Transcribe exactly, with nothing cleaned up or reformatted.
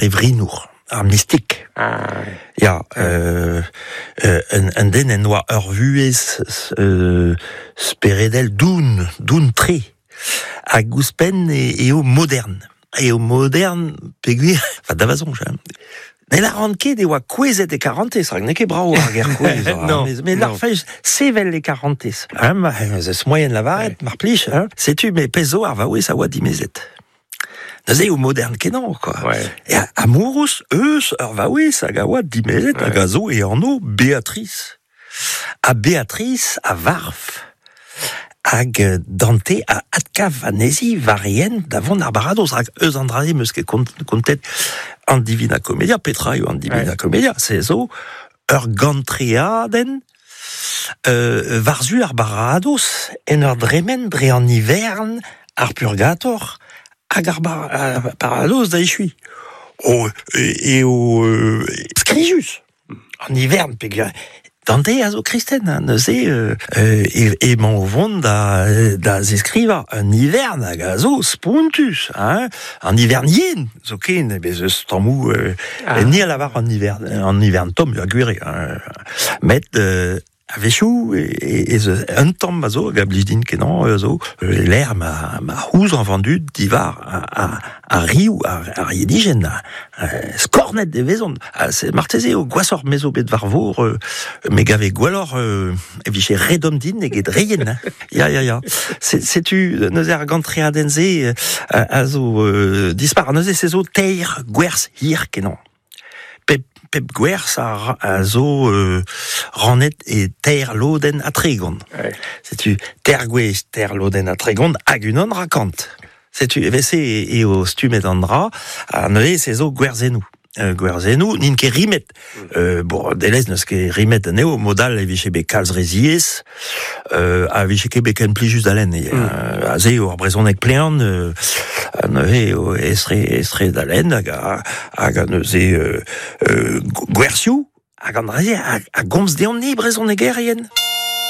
c'hevrinour, ar mistik. Ah, Ya, euh, euh, un, un den en oa ur vuhez euh, speredel doun, doun tre, hag ouzhpenn e, eo modern. Eo modern, peogwir, enfin, da va soñj, hein. Ne lâran ket e oa kouezhet e karantez, rak n'eo ket brav ar ger kouezh. Non, mais, mais non. l'arfej sevel e karantez. Hein, ma, ez moyen lavaret, mar plij, hein. Setu, me pezh zo ar vaouez a oa dimezet. Neuze eo modern kenañ, quoi. Ouais. E amourous eus ur vaouez hag a oa dimezet Ouais. hag a zo e anv Beatrice. Ha Beatrice a varv hag euh, Dante a adkav anezhi war e hent da vont ar baradoz rak eus an dra-se 'm eus ket kont, kontet an Divina Commedia, petra eo an Divina Ouais. Commedia, se zo ur gantreadenn euh, war-zu ar baradoz en ur dremen dre an ivern ar purgator hag ar bar, ar baradoz da echui. O, e, eo euh, skrijus an ivern peogwir Dante a zo kristen, hein, neuze euh, euh, e, emañ o vont da, da zeskrivañ un ivern hag a zo spontus, hein, an ivern yen, zo ken, bez eus tammoù euh, Ah. ni a lavar an ivern, an ivern tomm, ya gwir eo, hein. Met euh, a-wechoù e, e, ez eus un tamm a zo, hag a blij din kenañ a zo, euh, l'air ma, ma c'houzañv an dud diwar a, a, a riv, ar, ar yenijenn, a, a, skornet e vezont. Ha se marteze eo gwashoc'h me zo bet war vor, euh, me gave gwelloc'h euh, e vije re domm din eget re yen, hein. Ya, ya, ya. Se- Setu neuze ar gantreadenn-se euh, a, a zo euh, dispar. Neuze se zo teir gwerz hir kenañ. Pep, pep gwerz a, ra- a zo euh, rannet e teir lodenn ha tregont. Ouais. Setu teir gwech, teir lodenn ha tregont hag unan rakant. Setu evel-se e- eo stummet an dra, ha neuze se zo gwerzennoù. Euh, gwerzennoù, n'int ket rimet. Euh, bon, delez n'eus ket rimet anezho, mod all e vije bet kalz re ziaes, euh, a vije ket bet ken plijus da lenn. Mm. Euh, aze eo ar brezhoneg plean, euh, ha neuze eo aes-tre, aes-tre da lenn, hag a, hag a neuze euh, euh, gwerzioù, hag an dra-se a, a gomz deomp-ni brezhonegerien.